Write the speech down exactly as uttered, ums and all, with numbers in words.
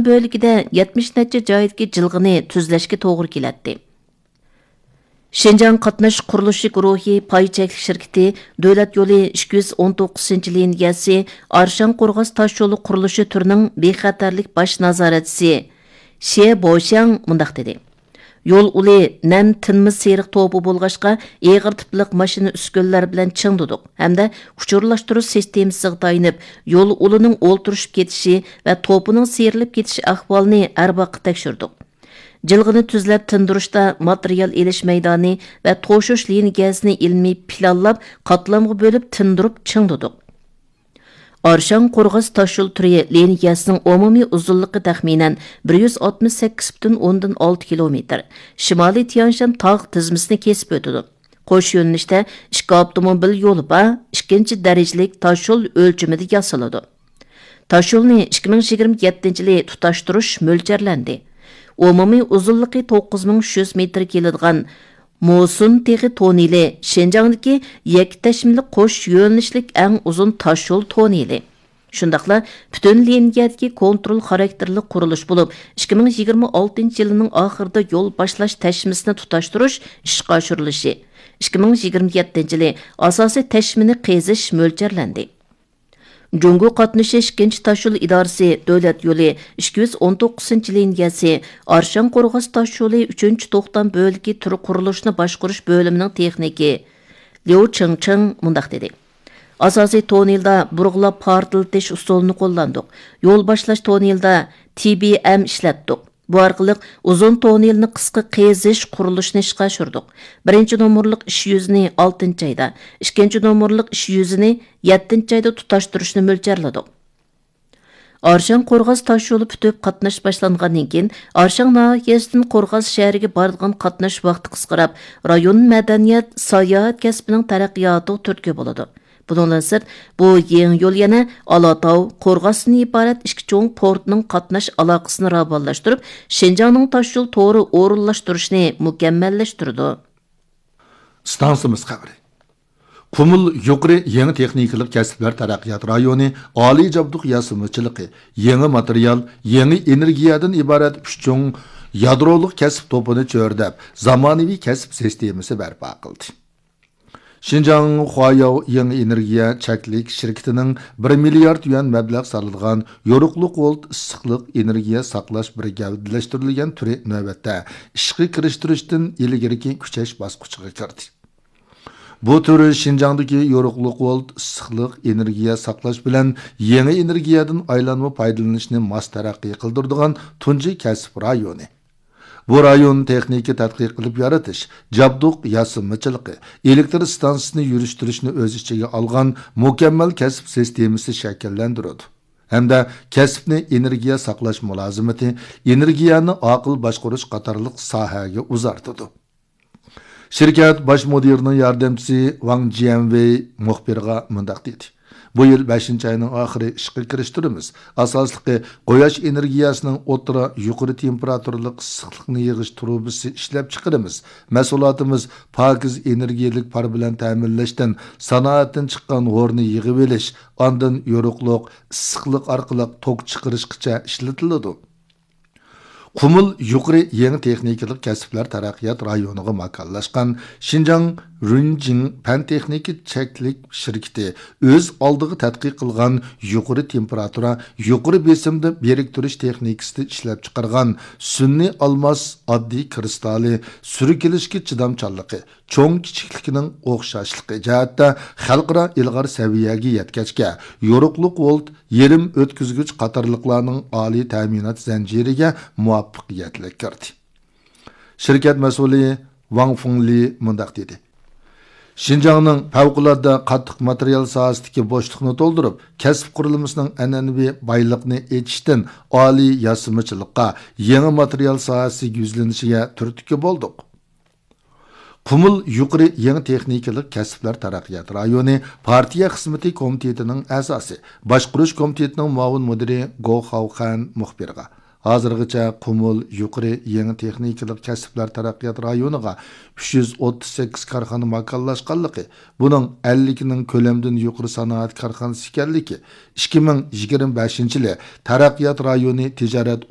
بۆلىكىدە يەتمىش نەچچە جايدىكى جىلغىنى تۈزلەشكە توغرا كېلەتتى. شىنجاڭ قاتناش قۇرۇلۇشى گۇرۇھى پاي چەكلىك شىركىتى دۆلەت يولى ئىككى يۈز ئون توققۇزىنچى لىنىيەسى ئارشاڭ قورغاس تاشيولى قۇرۇلۇشى تۈرىنىڭ بىخەتەرلىك باش نازارەتچىسى شې بوشياڭ مۇنداق دېدى: يول ئۇلى نەم تىنما سېرىق توپا بولغاچقا، ئېغىر تىپلىق ماشىنا ئۈسكۈنىلەر بىلەن چىڭ تۇتۇق ھەمدە ئۇچۇرلاشتۇرۇش سىستېمىسىغا تايىنىپ، يول ئۇلىنىڭ ئولتۇرۇشۇپ كېتىشى ۋە توپىنىڭ سىيرىلىپ كېتىش ئەھۋالىنى ھەر ۋاقىت تەكشۈردۇق. جىلغىنى تۈزلەپ تىندۇرۇشتا ماتېرىيال ئېلىش مەيدانى ۋە توشۇش لىنىيەسىنى ئىلمىي پىلانلاپ، قاتلامغا بۆلۈپ تىندۇرۇپ چىڭ تۇتۇق. ئارشاڭ قورغاس تاشيول تۈرى لىنىيەسىنىڭ ئومۇمىي ئۇزۇنلۇقى تەخمىنەن بىر يۈز ئاتمىش سەككىز پۈتۈن ئوندىن ئالتە كىلومېتىر. شىمالىي تيەنشان تاغ تىزمىسىنى كېسىپ ئۆتىدۇ. قوش يۆنىلىشتە ئىككى ئاپتوموبىل يولى بار، ئىككىنچى دەرىجىلىك تاشيول ئۆلچىمىدە ياسىلىدۇ. تاشيولنى ئىككى مىڭ يىگىرمە يەتتىنچى يىلى تۇتاشتۇرۇش مۆلچەرلەندى. ئومۇمىي ئۇزۇنلۇقى توققۇز مىڭ ئۈچ يۈز مېتىر كېلىدىغان موسۇن تېغى توننېلى شىنجاڭدىكى يەككە تەشمىلىك قوش يۆنىلىشلىك ئەڭ ئۇزۇن تاشيول توننېلى. شۇنداقلا پۈتۈن لىنىيەدىكى كونترول خاراكتېرلىك قۇرۇلۇش بولۇپ، ئىككى مىڭ يىگىرمە ئالتىنچى يىلىنىڭ ئاخىرىدا يول باشلاش تەشمىسىنى تۇتاشتۇرۇش ئىشقا ئاشۇرۇلۇشى، ئىككى مىڭ يىگىرمە يەتتىنچى يىلى ئاساسىي تەشمىنى قېزىش مۆلچەرلەندى. جۇڭگو قاتنىشىش ئىككىنچى تاشيول ئىدارىسى دۆلەت يولى ئىككى يۈز ئون توققۇزىنچى لىنىيەسى ئارشاڭ قورغاس تاشيولى ئۈچىنچى توختام بۆلىكى تۈر قۇرۇلۇشىنى باشقۇرۇش بۆلۈمىنىڭ تېخنىكى ليۇ چىڭچىڭ مۇنداق دېدى: ئاساسىي توننېلدا بۇرغىلاپ پارتلىتىش ئۇسۇلىنى قوللاندۇق. يول باشلاش توننېلدا تى بى ئەم ئىشلەتتۇق. بۇ ئارقىلىق ئۇزۇن توننېلنى قىسقا قېزىش قۇرۇلۇشىنى ئىشقا ئاشۇردۇق. بىرىنچى نومۇرلۇق ئىش يۈزىنى ئالتىنچى ئايدا، ئىككىنچى نومۇرلۇق ئىش يۈزىنى يەتتىنچى ئايدا تۇتاشتۇرۇشنى مۆلچەرلىدۇق. ئارشاڭ قورغاس تاشيولى پۈتۈپ قاتناش باشلانغاندىن كېيىن، ئارشاڭ ناھىيەسىدىن قورغاس شەھىرىگە بارىدىغان قاتناش ۋاقتى قىسقىراپ، رايون مەدەنىيەت، ساياھەت كەسپىنىڭ تەرەققىياتىغا تۈرتكە بولىدۇ. بۇنىڭدىن سىرت، بۇ يېڭى يول يەنە ئالاتاۋ، قورغاستىن ئىبارەت ئىككى چوڭ پورتنىڭ قاتناش ئالاقىسىنى راۋانلاشتۇرۇپ، شىنجاڭنىڭ تاشيول تورى ئورۇنلاشتۇرۇشىنى مۇكەممەللەشتۈرىدۇ. ئىستانسىمىز خەۋىرى. قۇمۇل يۇقىرى يېڭى تېخنىكىلىق كەسىپلەر تەرەققىيات رايونى ئالىي جابدۇق ياسىمىچىلىقى، يېڭى ماتېرىيال، يېڭى ئېنېرگىيەدىن ئىبارەت ئۈچ چوڭ يادرولۇق كەسىپ توپىنى چۆرىدەپ، زامانىۋى كەسىپ سىستېمىسى بەرپا قىلدى. شىنجاڭ خۇاياۋ يېڭى ئېنېرگىيە چەكلىك شىركىتىنىڭ بىر مىليارد يۈەن مەبلەغ سالىدىغان يورۇقلۇق ۋولت ئىسسىقلىق ئېنېرگىيە ساقلاش بىر گەۋدىلەشتۈرۈلگەن تۈرى نۆۋەتتە ئىشقا كىرىشتۈرۈشتىن ئىلگىرىكى كۈچەش باسقۇچىغا كىردى. بۇ تۈر شىنجاڭدىكى يورۇقلۇق ۋولت ئىسسىقلىق ئېنېرگىيە ساقلاش بىلەن يېڭى ئېنېرگىيەدىن ئايلانما پايدىلىنىشنى ماس تەرەققىي قىلدۇرىدىغان تۇنجى كەسىپ رايونى. بۇ رايون تېخنىكا تەتقىق قىلىپ يارىتىش، جابدۇق ياسىمىچىلىقى، ئېلېكتر ئىستانسىسىنى يۈرۈشتۈرۈشنى ئۆز ئىچىگە ئالغان مۇكەممەل كەسىپ سىستېمىسى شەكىللەندۈرىدۇ ھەمدە كەسىپنى ئېنېرگىيە ساقلاش مۇلازىمىتى، ئېنېرگىيەنى ئاقىل باشقۇرۇش قاتارلىق ساھەگە ئۇزارتىدۇ. شىركەت باش مۇدىرىنىڭ ياردەمچىسى ۋاڭ جيەنۋېي مۇخبىرغا مۇنداق دېدى: بۇ يىل بەشىنچى ئاينىڭ ئاخىرى ئىشقا كىرىشتۈرىمىز. ئاساسلىقى، قۇياش ئېنېرگىيەسىنىڭ ئوتتۇرا يۇقىرى تېمپېراتۇرىلىق ئىسسىقلىقنى يىغىش تۇرۇبىسى ئىشلەپچىقىرىمىز. مەھسۇلاتىمىز پاكىز ئېنېرگىيەلىك پار بىلەن تەمىنلەشتىن سانائەتتىن چىققان ھورنى يىغىۋېلىش، ئاندىن يورۇقلۇق، ئىسسىقلىق ئارقىلىق توك چىقىرىشقىچە ئىشلىتىلىدۇ. قۇمۇل يۇقىرى يېڭى تېخنىكىلىق كەسىپلەر تەرەققىيات رايونىغا ماكانلاشقان شىنجاڭ رۇنجىڭ پەن تېخنىكا چەكلىك شىركىتى ئۆز ئالدىغا تەتقىق قىلغان يۇقىرى تېمپېراتۇرا، يۇقىرى بېسىمدا بىرىكتۈرۈش تېخنىكىسىدا ئىشلەپچىقارغان سۈنئىي ئالماس ئاددىي كىرىستالى سۈركىلىشكە چىدامچانلىقى، چوڭ كىچىكلىكىنىڭ ئوخشاشلىقى جەھەتتە خەلقئارا ئىلغار سەۋىيەگە يەتكەچكە، يورۇقلۇق ۋولت، يېرىم ئۆتكۈزگۈچ قاتارلىقلارنىڭ ئالىي تەمىنات زەنجىرىگە مۇۋەپپەقىيەتلىك كىردى. شىركەت مەسئۇلى ۋاڭ فېڭلى مۇنداق دېدى: شىنجاڭنىڭ پەۋقۇلئاددە قاتتىق ماتېرىيال ساھەسىدىكى بوشلۇقنى تولدۇرۇپ، كەسىپ قۇرۇلمىسىنىڭ ئەنئەنىۋى بايلىقنى ئېچىشتىن ئالىي ياسىمىچىلىققا، يېڭى ماتېرىيال ساھەسىگە يۈزلىنىشىگە تۈرتكە بولدۇق. قۇمۇل يۇقىرى يېڭى تېخنىكىلىق كەسىپلەر تەرەققىيات رايونى پارتىيە خىزمىتى كومىتېتىنىڭ ئەزاسى، باشقۇرۇش كومىتېتىنىڭ مۇئاۋىن مۇدىرى گو خاۋخەن مۇخبىرغا، ھازىرغىچە قۇمۇل يۇقىرى يېڭى تېخنىكىلىق كەسىپلەر تەرەققىيات رايونىغا ئۈچ يۈز ئوتتۇز سەككىز كارخانا ماكانلاشقانلىقى، بۇنىڭ ئەللىكىنىڭ كۆلەمدىن يۇقىرى سانائەت كارخانىسى ئىكەنلىكى، ئىككى مىڭ يىگىرمە بەشىنچى يىلى تەرەققىيات رايونى تىجارەت